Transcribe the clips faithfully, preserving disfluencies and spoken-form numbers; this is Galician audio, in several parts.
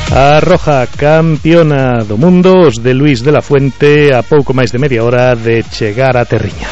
A Roja, campeona do mundo, os de Luís de la Fuente, a pouco máis de media hora de chegar a Terriña.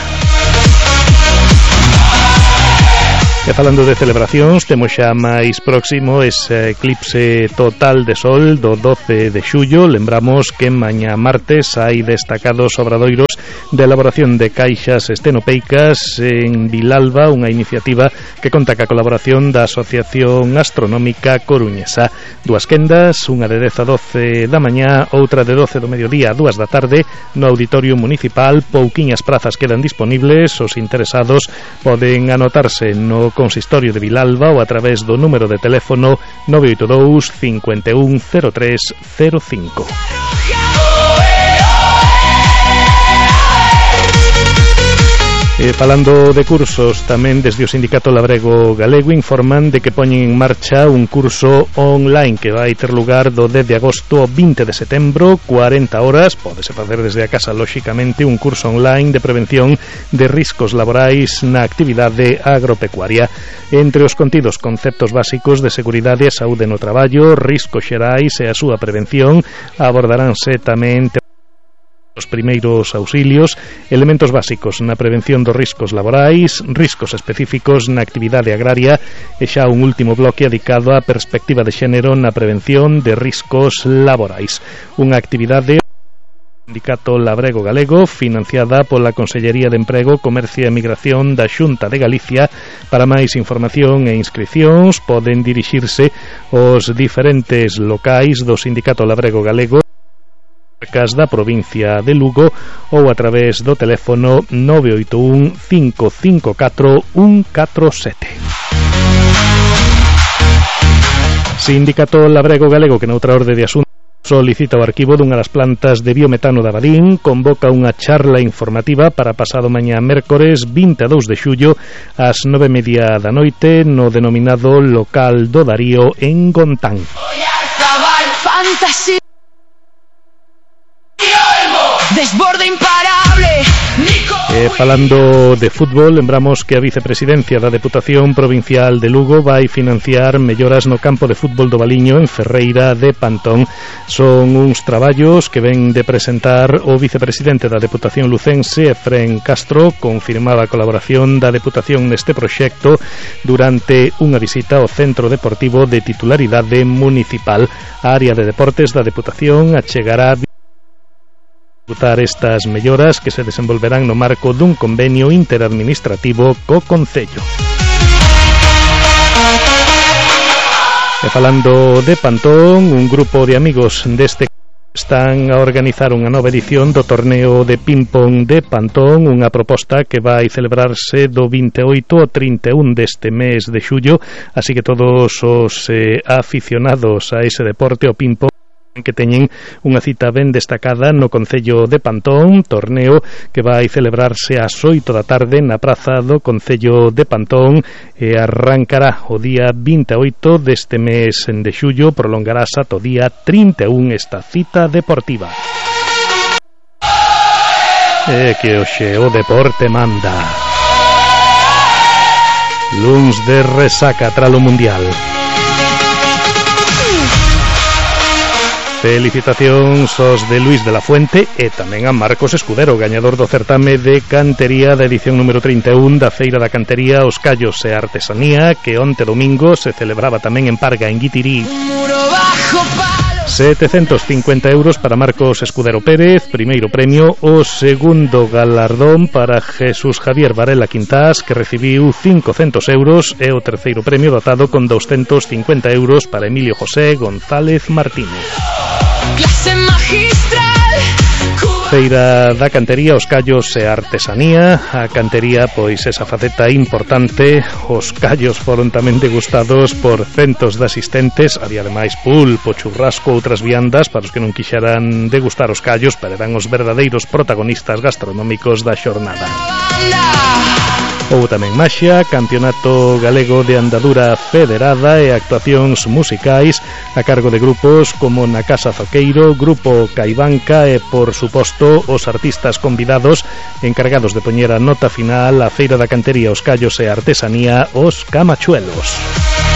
E falando de celebracións, temos xa máis próximo ese eclipse total de sol do doce de xullo. Lembramos que mañá martes hai destacados obradoiros de elaboración de caixas estenopeicas en Vilalba, unha iniciativa que conta ca colaboración da Asociación Astronómica Coruñesa. Dúas quendas, unha de dez a doce da mañá, outra de doce do mediodía a dúas da tarde no Auditorio Municipal. Pouquiñas prazas quedan disponibles, os interesados poden anotarse no Consistorio de Vilalba ou a través do número de teléfono nove oito dous, cinco un, cero tres cero cinco. E falando de cursos, tamén desde o Sindicato Labrego Galego informan de que poñen en marcha un curso online que vai ter lugar do dez de agosto ao vinte de setembro, cuarenta horas, pódese facer desde a casa lóxicamente, un curso online de prevención de riscos laborais na actividade agropecuaria. Entre os contidos, conceptos básicos de seguridade e saúde no traballo, riscos xerais e a súa prevención, abordaránse tamén os primeiros auxilios, elementos básicos na prevención dos riscos laborais, riscos específicos na actividade agraria e xa un último bloque dedicado á perspectiva de xénero na prevención de riscos laborais. Unha actividade Sindicato Labrego Galego, financiada pola Consellería de Emprego, Comercio e Migración da Xunta de Galicia. Para máis información e inscricións poden dirixirse aos diferentes locais do Sindicato Labrego Galego da provincia de Lugo ou a través do teléfono nove oito un, cinco cinco catro, un catro sete. Sindicato Labrego Galego, que noutra orde de asuntos solicita o arquivo dunha das plantas de biometano da Badín, convoca unha charla informativa para pasado mañá mércores vinte e dous de xullo ás nove e media da noite no denominado local do Darío en Gontán. Fantasía. Desborde imparable. Eh, falando de fútbol, lembramos que a vicepresidencia da Deputación Provincial de Lugo vai financiar melloras no campo de fútbol do Valiño en Ferreira de Pantón. Son uns traballos que ven de presentar o vicepresidente da Deputación lucense, Efrén Castro, confirmaba a colaboración da Deputación neste proxecto durante unha visita ao centro deportivo de titularidade municipal. A área de deportes da Deputación achegará executar estas melloras que se desenvolverán no marco dun convenio interadministrativo co Concello. E falando de Pantón, un grupo de amigos deste están a organizar unha nova edición do torneo de ping-pong de Pantón, unha proposta que vai celebrarse do vinte e oito ao trinta e un deste mes de xullo, así que todos os eh, aficionados a ese deporte, o ping-pong, que teñen unha cita ben destacada no Concello de Pantón, torneo que vai celebrarse ás oito da tarde na praza do Concello de Pantón e arrancará o día vinte e oito deste mes de xullo, prolongarase ata o día trinta e un esta cita deportiva. E que hoxe o deporte manda. Luns de resaca tralo Mundial. Felicitacións aos de Luís de la Fuente e tamén a Marcos Escudero, gañador do certame de cantería da edición número trinta e un da Feira da Cantería, os Callos e Artesanía, que onte domingo se celebraba tamén en Parga, en Guitirí. setecentos cincuenta euros para Marcos Escudero Pérez, primeiro premio. O segundo galardón para Jesús Javier Varela Quintás, que recibiu cincocentos euros, e o terceiro premio dotado con doscientos cincuenta euros para Emilio José González Martínez. Clase magistral. Feira da Cantería, os Callos e Artesanía. A cantería, pois esa faceta importante. Os callos foron tamén degustados por centos de asistentes. Había ademais pulpo, churrasco, outras viandas para os que non quixeran degustar os callos, pero eran os verdadeiros protagonistas gastronómicos da xornada. Houbo tamén maxia, Campeonato Galego de Andadura Federada e actuacións musicais a cargo de grupos como Na Casa Zoqueiro, Grupo Caibanca e, por suposto, os artistas convidados encargados de poñer a nota final a Feira da Cantería, os Callos e Artesanía, os Camachuelos.